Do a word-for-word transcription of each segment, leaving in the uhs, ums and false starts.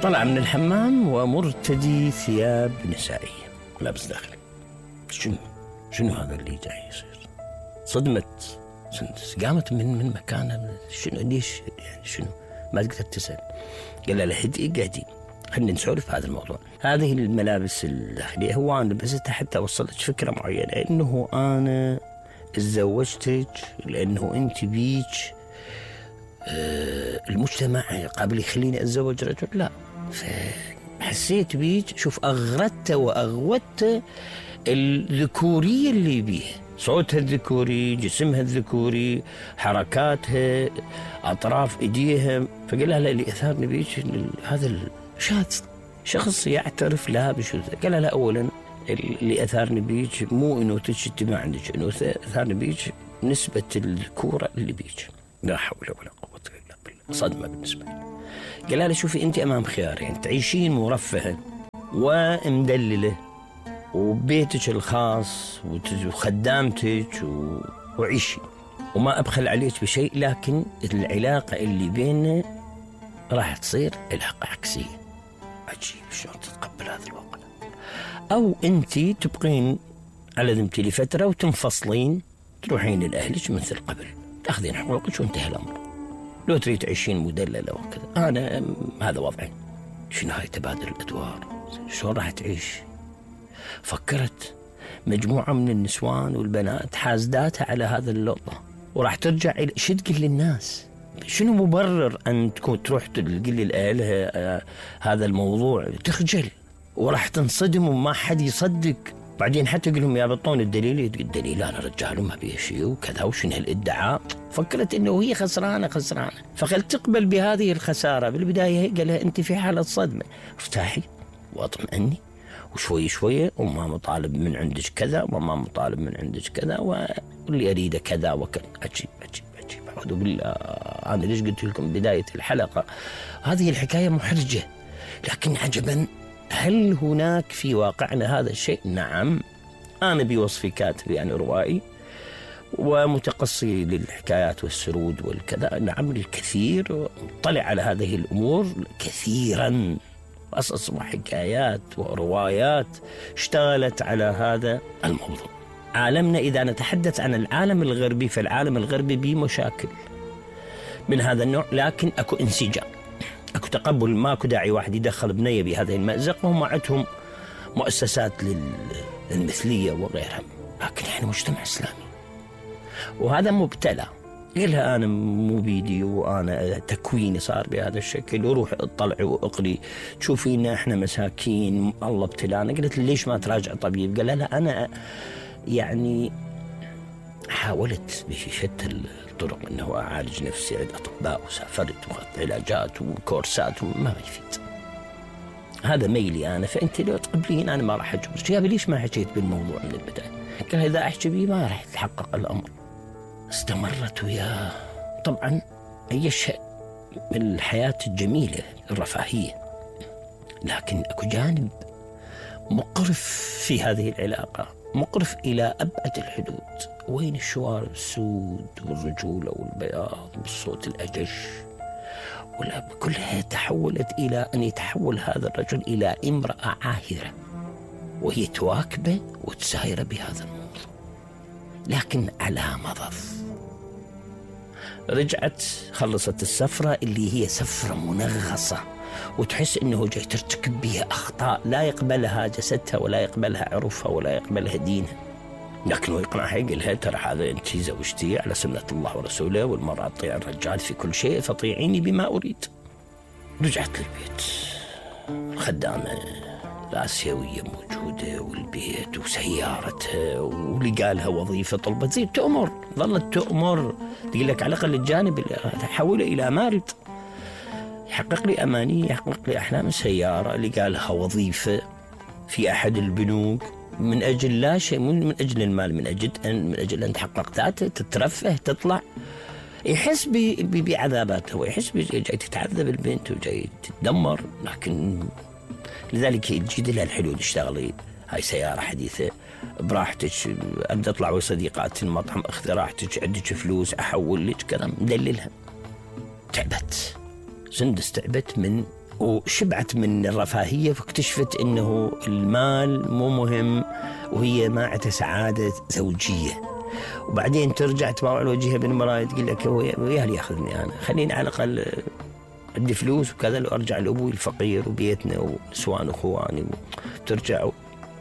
طلع من الحمام ومرتدي ثياب نسائية، لابس داخلي. شنو شنو هذا اللي جاي يصير؟ صدمت، قامت من من مكانها. شنو ليش يعني شنو؟ ما تقدر تسأل. قال لها هدي قعدي خلينا نسولف هذا الموضوع. هذه الملابس الداخلية هو أنا لبستها حتى أوصلك فكرة معينة إنه أنا تزوجتك لأنه أنت بيك آه المجتمع قابل يخليني أتزوج رجل، لا. فحسيت بيك، شوف أغردت وأغوت الذكورية اللي بيها، صوتها الذكوري، جسمها الذكوري، حركاتها، أطراف إيديها. فقال لها لا، اللي أثارني بيك هذا الشاذ، شخص يعترف لها بشذوذ. قال لها أولا اللي أثارني بيك مو أنوثتك، ما عندك أنوثة، أثارني بيك نسبة الذكورة اللي بيك. لا حول ولا قوة إلا بالله. صدمة بالنسبة لي. قال لها شوفي أنت أمام خيارين، تعيشين مرفهة ومدللة وبيتك الخاص وخدامتك وعيشي وما أبخل عليك بشيء، لكن العلاقة اللي بيننا راح تصير علاقة عكسية. عجيب شلون تتقبل هذا الواقع. أو أنت تبقين على ذمتي لفترة وتنفصلين، تروحين لأهلك مثل قبل، تأخذين حقوقك وانتهى الأمر. لو تريد تعيشين مدللة وكذا، أنا هذا وضعي. شنو هاي تبادل الأدوار؟ شلون راح تعيش؟ فكرت مجموعة من النسوان والبنات حازداتها على هذا اللقطة، وراح ترجع إلى شو تقول للناس؟ شنو مبرر أن تكون تروح تقول لأهلها هذا الموضوع؟ تخجل وراح تنصدم وما حد يصدق. بعدين حتى يقول لهم يا بطون الدليل، الدليل أنا رجال وما بيه شيء وكذا وشنو هالادعاء. فكرت إنه هي خسرانة خسرانة، فقال تقبل بهذه الخسارة. بالبداية قال لها أنت في حالة صدمة، ارتاحي واطمئني، وشوي شوية وما مطالب من عندك كذا وما مطالب من عندك كذا، واللي أريده كذا وكذا. عجيب عجيب عجيب. أعوذ بالله. أنا ليش قلت لكم بداية الحلقة هذه الحكاية محرجة، لكن عجبا هل هناك في واقعنا هذا الشيء؟ نعم. أنا بوصفي كاتب يعني روائي ومتقصي للحكايات والسرود والكذا، نعم الكثير، طلع على هذه الأمور كثيرا، قصص وحكايات وروايات اشتغلت على هذا الموضوع. عالمنا إذا نتحدث عن العالم الغربي، فالعالم الغربي بمشاكل من هذا النوع، لكن أكو انسجام، أكو تقبل، ما أكو داعي واحد يدخل بنية بهذه المأزق، وهم عندهم مؤسسات للمثلية وغيرها. لكن إحنا مجتمع إسلامي وهذا مبتلى. قلها أنا مو بيدي وأنا تكويني صار بهذا الشكل، وروح اطلعي واقري تشوفينا إحنا مساكين الله ابتلانا. قلت ليش ما تراجع طبيب؟ قال لا أنا يعني حاولت بشتى الطرق أنه أعالج نفسي، عند أطباء وسافرت وأخذت علاجات وكورسات وما يفيد. هذا ميلي أنا، فأنت لو تقبلين أنا ما راح أجبرك. يا ليش ما حكيت بالموضوع من البداية؟ قال إذا أحكي بيه ما راح يتحقق الأمر. استمرت وياه. طبعا أي شيء من الحياة الجميلة الرفاهية، لكن أكو جانب مقرف في هذه العلاقة، مقرف إلى أبعد الحدود. وين الشوارب السود والرجولة والبياض والصوت الأجش، ولا كلها تحولت إلى أن يتحول هذا الرجل إلى امرأة عاهرة، وهي تواكبه وتساير بهذا الموضوع، لكن على مضض. رجعت خلصت السفرة اللي هي سفرة منغصة، وتحس إنه جاي ترتكب بها أخطاء لا يقبلها جسدها ولا يقبلها عرفها ولا يقبلها دينها، لكنه يقنعها يقول لها ترى هذا أنت زوجتي على سنة الله ورسوله، والمرأة تطيع الرجال في كل شيء، فطيعيني بما أريد. رجعت للبيت، الخدامة الآسيوية موجودة والبيت وسيارتها، ولقى لها وظيفة طلبت زي تأمر، ظلت تأمر تقول لك على الأقل الجانب تحوله إلى مال يحقق لي أماني، يحقق لي أحلام. سيارة، لقى لها وظيفة في أحد البنوك، من أجل لا شيء، من أجل المال، من أجل أن من أجل أن تحقق ذاته، تترفه، تطلع. يحس بعذاباته ويحس جاي تتعذب البنت وجاي تتدمر، لكن لذلك يجد لها الحلول. اشتغلي، هاي سيارة حديثة براحتك، أبدأ أطلع وصديقات المطعم، أخذ راحتك، عندك فلوس أحول لك كذا، مدللها. تعبت سندس، تعبت من وشبعت من الرفاهية، فاكتشفت أنه المال مو مهم، وهي ما عندها سعادة زوجية. وبعدين ترجع تباوع الوجهها بالمراية تقول لك وياه اللي ياخذني أنا، خليني على الأقل عندي فلوس وكذا، لو أرجع لأبوي الفقير وبيتنا ونسوان أخواني وترجع.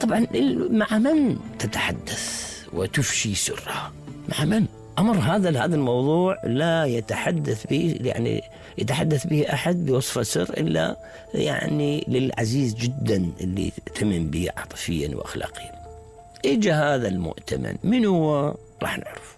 طبعا مع من تتحدث وتفشي سرها؟ مع من؟ أمر هذا هذا الموضوع لا يتحدث به، يعني يتحدث به أحد بوصف سر إلا يعني للعزيز جدا اللي تمن به عاطفيا وأخلاقيا. إجا هذا المؤتمن، من هو؟ راح نعرف.